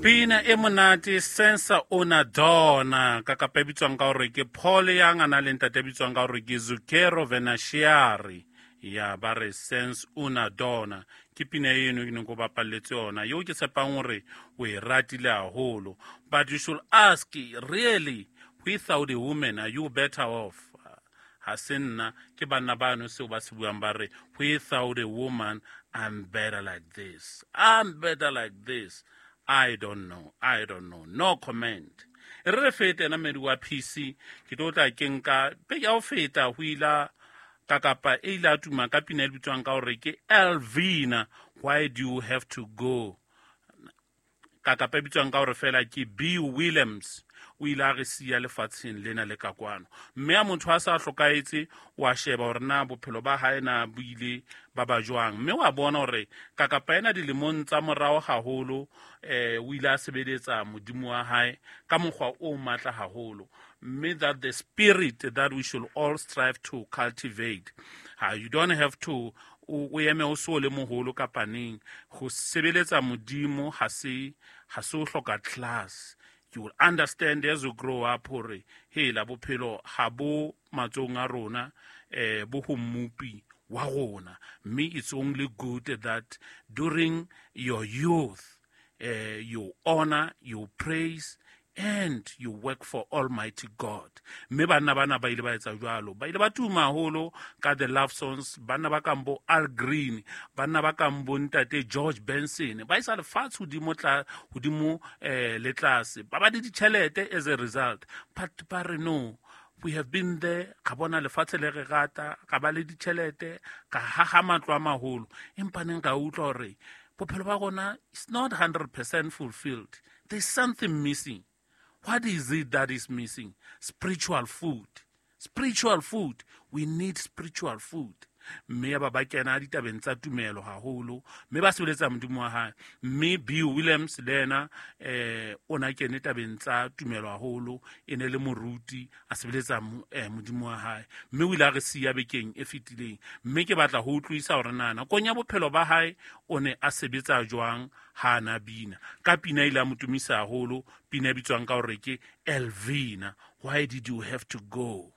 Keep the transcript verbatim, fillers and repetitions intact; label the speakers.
Speaker 1: Pina e monate, Senza Una Donna, ka kapa e bitswang ka hore ke Paul Young, a na le ntate e bitswang ka hore ke Zucchero Venashiari. Ya ba re Sense Una Donna ke pina eno ke neng ko bapalletse yona, eo ke tshepang hore o e ratile haholo. But you should ask, really, without a woman, are you better off? Ha se nna, ke banna bano seo ba se buang, ba re without a woman I'm better like this, I'm better like this. I don't know, I don't know, no comment. E re re fete ena mmedi wa P C, ke tlo tla ke nka peke ya ho feta ho ila ka kapa e ile a tuma ka pina e bitswang ka hore ke Elvina, Why Do You Have to Go, ka kapa e bitswang ka hore fela ke B Williams. O ile a re siya lefatsheng lena le ka kwano, mme a motho a sa hlokahetse wa sheba hore na bophelo ba hae na bo ile ba ba jwang, mme wa bona hore kakapa ena dilemong tsa morao haholo eh o ile a sebeletsa modimo wa hae ka mokgwa o matla haholo, mme that the spirit that we should all strive to cultivate. Ha you don't have to o eme o so le moholo kapa neng go sebeletsa modimo, ha se ha se o hloka class. You will understand as you grow up hore hela bophelo ha bo matsohong a rona, eh bo ho mmupi wa rona, mme it's only good that during your youth eh you honor, you praise and you work for Almighty God. Mme banna bana ba ile ba etsa jwalo, ba ile ba tuma haholo ka the love songs. Banna ba kang bo Al Green, banna ba kang bo ntate George Benson, ba isa lefatshe hodimo tla hodimo eh le tlase, ba ba le ditjhelete as a result. But ba re no, we have been there, ka bona lefatshe le re rata, ka ba le ditjhelete, ka haha matlo a maholo, empa neng ka utlwa hore bophelo ba rona is not one hundred percent fulfilled. There's something missing. What is it that is missing? Spiritual food, spiritual food. We need spiritual food. Mme ya ba ba kena ditabeng tsa tumelo haholo, mme ba sebeletsa modimo wa hae. Mme B Williams le yena eh o na kene tabeng tsa tumelo haholo, e ne le moruti, a sebeletsa modimo wa hae, mme o ile a re siya bekeng e fetileng. Mme ke batla ho utlwisa hore na nakong ya bophelo ba hae o ne a sebetsa jwang ha na bina ka pina ile a mo tumisa haholo, pina e bitswang ka hore ke Elvina, Why Did You Have to Go.